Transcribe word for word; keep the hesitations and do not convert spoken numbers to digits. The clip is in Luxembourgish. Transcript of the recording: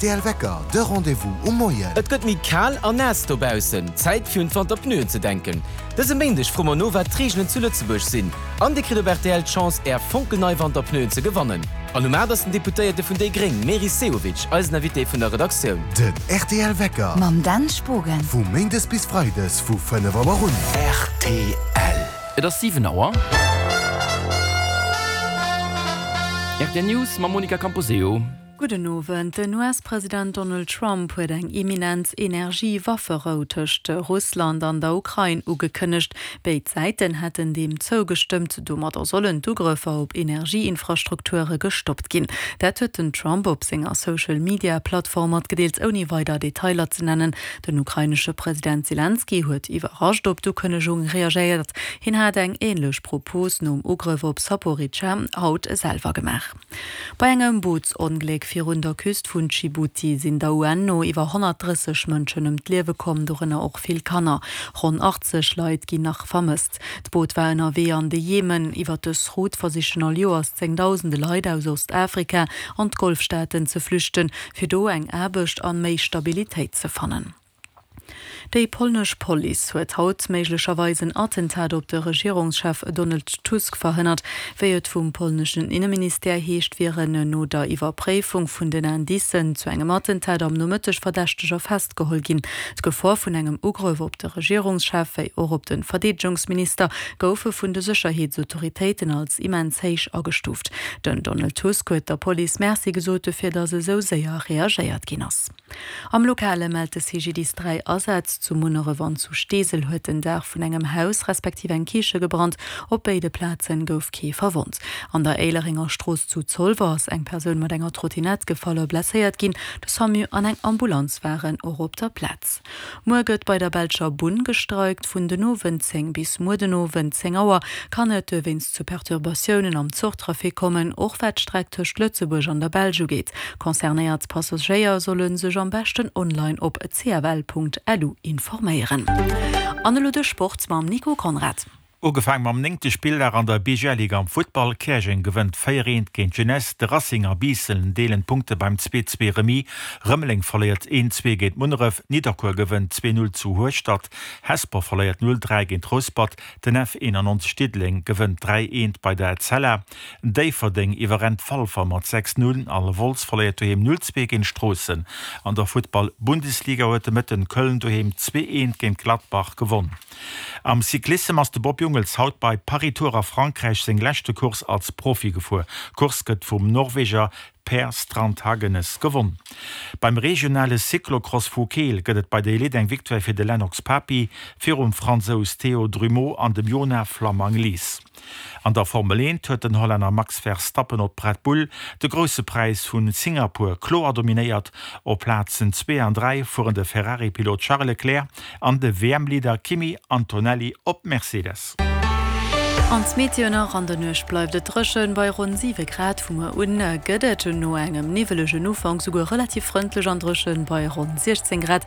rtl Wecker, de Rendez-vous um Moien. Et gëtt méi kal an naass dobaussen. Zäit fir un d'Wanterpneuen ze denken. Dëse Méindeg froe mer no wat d'Reegelen zu Lëtzebuerg sinn. An Dir kritt op rtl d'Chance Är fonkelnei Wanterpneuen ze gewannen. An um aacht ass den Deputéierte vun déi Gréng Meris Sehovic eisen Invité vun der Redaktioun. Den rtl Wecker. Mam Dan Spogen. Vu Méindes bis Freides vu fënnef Auer un. Rtl. Et ass siwen Auer. Rtl News mam Monica Camposeo. Gudden Owend. Den US-President Donald Trump huet eng imminent Energie-Wafferou tëscht Russland an der Ukrain ugekënnegt. Béid Säiten hätten deem zougestëmmt. Domadder sollen d'Ugrëffer op Energieinfrastrukture gestoppt ginn. Dat huet den Trump op senger Social-Media-Plattform matgedeelt, ouni weider Detailer ze nennen. Den ukrainesche President Selenskyj huet iwwerrascht op d'Ukënnegung reagéiert. Hien hat eng änlech Propos nom Ugrëff op Saporizhzhia haut selwer gemaach. Bei engem Bootsongléck virun der Küst vun Dschibuti sinn der UN no iwwer honnertdrësseg Mënschen ëm d'Liewe komm, dorënner och vill Kanner. Ronn achtzeg Leit ginn nach vermësst. D'Boot war ënnerwee an de Jemen. Iwwer dës Route versichen all Joers zéngdausende Leit aus Ostafrika an d'Golfstaaten ze flüchten, fir do eng Aarbecht an méi Stabilitéit ze fannen. Déi polnesch Police huet haut méiglecherweis en Attentat op de Regierungschef Donald Tusk verhënnert. Wéi et vum polneschen Inneministère heescht, wieren no der Iwwerpréifung vun den Indicen zu engem Attentat am Nomëtteg Verdächteger festgeholl ginn. D'Gefor vun engem Ugrëff op de Regierungschef wéi och op de Verdeedegungsminister goufe vun de Sécherheetsautoritéiten als immens héich agestuuft. Den Donald Tusk huet der Police Merci gesot dofir, datt esou séier reagéiert ginn ass. Am Lokale mellt de C G D I S dräi Asätz. Zu Munneref an zu Steesel huet den Daach vun engem Haus respektiv eng Kiche gebrannt. Op béide Plaze gouf kee verwonnt. An der Éilerenger Strooss zu Zolwer ass eng Persoun mat enger Trottinett gefall a blesséiert ginn. De Samu an eng Ambulanz waren och op der Plaz. Muer gëtt bei der belscher Bunn gestreikt. Vun den Owend zéng bis muer den Owend zéng Auer kann et dowéinst zu Perturbatiounen am Zuchtrafic kommen, och wat d'Streck tëscht Lëtzebuerg an der Belsch ugeet. Concernéiert Passagéier solle sech am beschten online op cfl Punkt lu informéieren. An elo de Sport mam Nico Conrad. Ugefaang mam néngte Spilldag an der B G L-Liga am Futtball, Käerjeng gewënnt véier eent géint d'Jeunesse, de Racing a Biissen deelen d'Punkte beim zwee zwee Remis, Rëmeleng verléiert een zwee géint Munneref, Nidderkuer gewënnt zwee null zu Hueschtert, Hesper verléiert null dräi géint Rouspert, den F eenanneonzeg Diddeleng gewënnt dräi eent bei der Etzella, Déifferdeng iwwerrennt Walfer mat sechs null a Wolz verléiert doheem null zwee géint Stroossen. An der Futtball-Bundesliga huet de Mëtten Köln doheem zwee eent géint Gladbach gewonn. Am Cyclissem ass de Bob Jungels haut bei Paris-Tours a Frankräich seng leschte Course als Profi gefuer. D'Course gëtt vum Norweger Per Strand Hagenes gewonn. Beim regionale Cyclocross vu Keel gëtt et bei der Elite eng Victoire fir de Lennox Papi virum Fransous Théo Drumeau an dem Jonah Flammang-Lies. An der Formel eent huet den Hollänner Max Verstappen op Red Bull de Grousse Präis vu Singapur kloer dominéiert. Op Plazen zwee an dräi fueren de Ferrari-Pilot Charles Leclerc an de W M-Leader Kimi Antonelli op Mercedes. An d'Meteo nach, An der Nuecht bleift et dréchen bei ronn siwe Grad. Vu muer un gëtt et no engem niwwelegen Ufank souguer relativ frëndlech an dréchen bei ronn siechzéng Grad.